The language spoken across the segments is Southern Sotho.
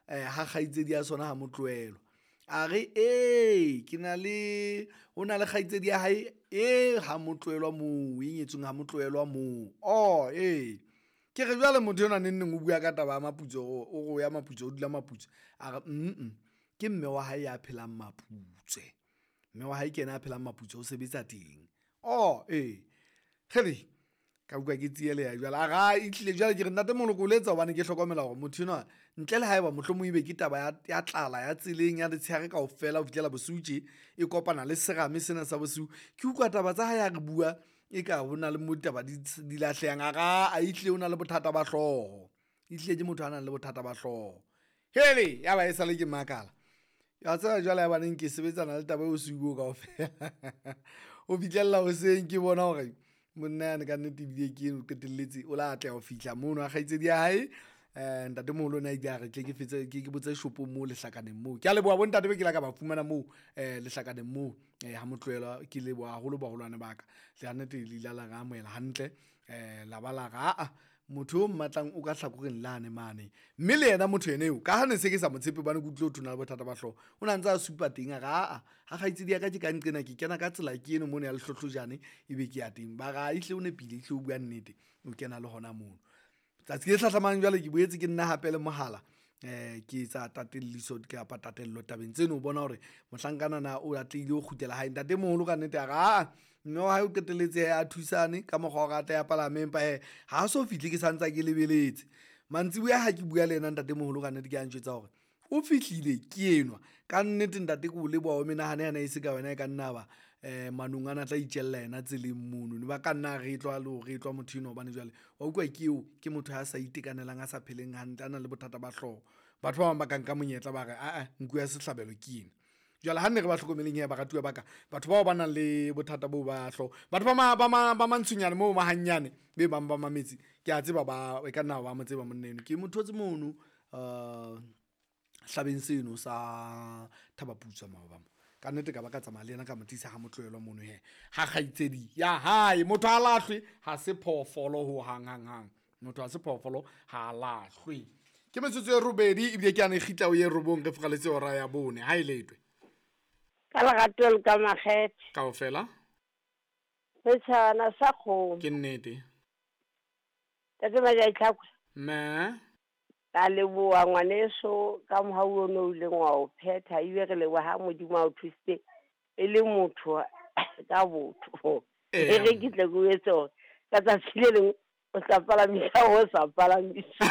Ha kgaitsedi ya sona ha motlohelwa. A re ee, ke na le ho na le kgaitsedi ya hae e ha motlohelwa moo, e nyetsweng ha motlohelwa moo. Oh ee, ke re jwale motho enwa neng neng o bua ka taba ya Maputsoe o re o ya Maputsoe o dula Maputsoe. A re ke mme wa hae ya phelang Maputswe. Mme wa hae ke yena a phelang Maputswe o sebetsa teng. Oh ee, kgele ka utlwa ke tsieleha jwale. A re ae ehlile jwale ke re ntate Moloko o letsa hobane ke hlokomela hore motho enwa ntle le haeba mohlomong ebe ke taba ya tlala ya tseleng ya letshehare kaofela ho fihlela bosiu tje e kopana le serame sena sa bosiu. Ke utlwa taba tsa hae ha re bua eka ho na le mo ditaba di lahlehang. A re aa ehlile o na le bothata ba hlooho, ehlile ke motho a nang le bothata ba hlooho. Hele ya ba e sale ke makala. Wa tseba jwale ya baneng ke sebetsana le taba eo bosiu boo kaofela ho fihlella hoseng ke bona hore monna yane kannete ebile ke eno qetelletse o la atleha ho fihla mono ha kgaitsedi ya hae. Ntatemoholo o ne a ile a re tle ke fetse ke botse shopong moo lehlakaneng moo. Ke a leboha bo ntate be ke la ka ba fumana moo lehlakaneng moo ha motlohelwa. Ke leboha haholo baholwane ba ka. Kannete le ile la re amohela hantle la ba la re aa motho o mmatlang o ka hlakoreng lane mane. Mme le yena motho ena eo ka ha ne se ke sa mo tshepe hobane ke utlwile ho thwe o na le bothata ba hlooho, o na ntse a supa teng a re aa ha kgaitsedi ya ka ke ka nqena ke kena ka tsela ke eno mono ya lehlohlojane ebe ke ya teng. Ba re a ehlile o nepile, ehlile o bua nnete, o kena le hona mono. Tsatsi le hlahlamang jwale ke boetse ke nna hape le mohala ke etsa tatelliso kapa tatello tabeng tseno ho bona hore mohlankana na o atlehile ho kgutlela hae. Ntatemoholo kannete a re aa mme wa hae o qetelletse a thusane ka mokgwa wa hore a tle a palame, empa hee ha so fihle ke sa ntsa ke lebeletse. Mantsiboya ha ke bua le yena ntatemoholo kannete ke a njwetsa hore o fihlile ke enwa. Kannete ntate ke o leboha o menahane ana e se ka wena e ka nna ba manong ana a tla itjella yena tseleng mono. Ne ba ka nna a retlwa le ho retlwa motho enwa hobane jwale wa utlwa ke eo ke motho a sa itekanelang, a sa pheleng hantle, a nang le bothata ba hlooho. Batho ba bang ba ka nka monyetla ba re aa nku ya sehlabelo ke ena. Jwale ha nne re ba hlokomeleng hee baratuwa ba ka, batho bao ba nang le bothata boo ba hlooho. Batho ba mantshonyane moo mahannyane be bang ba mametse, ke a tseba ba e ka nna ba mo tseba monna eno. Ke mo thotse mono hlabeng seno sa Thaba Putswa maoba mo. Kannete ka ba ka tsamaya le yena ka mo tlisa ha motlohelwa mono hee ha kgaitsedi ya hae. Motho ha lahlwe ha se phoofolo ho hang hang hang. Motho ha se phoofolo ha lahlwe. Ke metsotso e robedi ebile ke yane e kgitla ho ye robong re furaletse hora ya bone. Ha e letwe. Ka lerato le ka makgethe. Kaofela. Setjhabana sa kgomo. Ke nnete. Tate Majai Tlhakwe. Mme. Ka leboha ngwaneso ka mohau o no ileng wa o phetha ebile re leboha ha Modimo a o thusitse e le motho ka botho. E re ke tle ke o etse hore ka tsatsi le leng o tla palamisa o sa palamisa.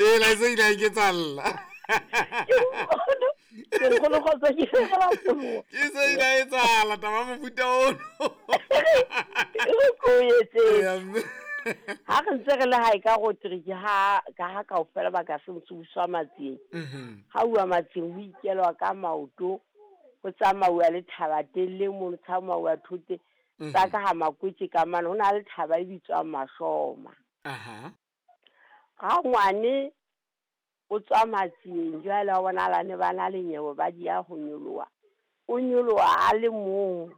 Ee, la se ile a iketsalla. Ke nkgono kgotsa ke fela poloa. Ke se ile a etsahala taba ya mofuta ono. E re ko o etse. Eya, mme. Ha re ntse re le hae ka Rotrick ha ka ha kaofela ba ka se ntse matsieng. Ha uwa matsieng ho ikelwa ka maoto, ho tsamauwa le thaba telle mono, tsamauwa thote. Tsa ka ha makwetse ka mane ho na le thaba e bitswang Mashoma. Ha ngwane o tswa matsieng jwale wa bona la ne ba na le nyewe ba di ya ho nyoloha. O nyoloha a le mong.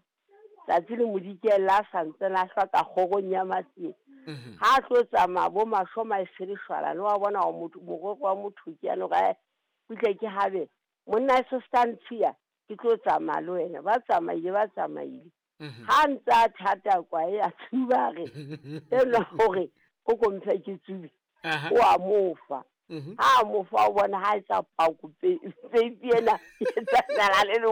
Tsatsi le modikella a sa ntse a hlwa ka kgorong ya matsieng. Ha tlo tsamaya bo Mashoma e se leshwalane wa bona hore motho morero wa motho ke yane hore ae butle ke habe monna e se ska ntshiya ke tlo tsamaya le wena. Ba tsamaile ba tsamaile. Ha ntse a thata kwae a tsuba re enwa hore o ko mphe ke tsube. O a mo fa. Ha a mo fa o bona ha etsa pako peipi ena e tsamaya le le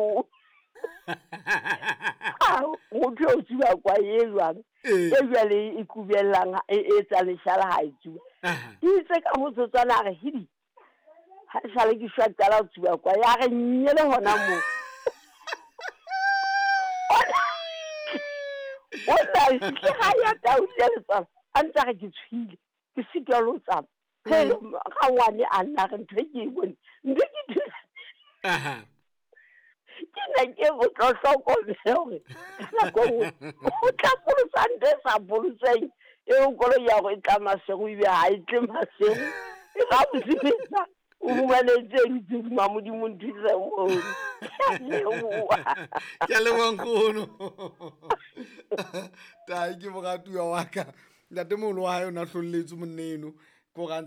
motho o tsuba kwae e jwang? E jwale e kubellang e etsa leshala ha e tsuba. Itse ka motsotswana a re hidi ha sale ke shwa qala ho tsuba kwae a re nnyele hona moo. O tla fihle ha ya taule letswalo a ntse a re ke tshohile ke sitwa le ho tsamaya. Ga ngwane a nna re ntho e ke e bone ntho ke ke ne ke go tlo hlokomela hore ka nako nngwe o tla polosa ntho e sa polotseng eo koloi ya go e tla masego ebe ha e tle masego e ga bosebetsa o fumane tse dutse hodima Modimo nthuse mono. Ke a leboha. Ke a leboha nkgono. Tai ke moratuwa wa ka. Ntatemoholo wa hae o na hlolletswe monna eno. Ke hore a ntse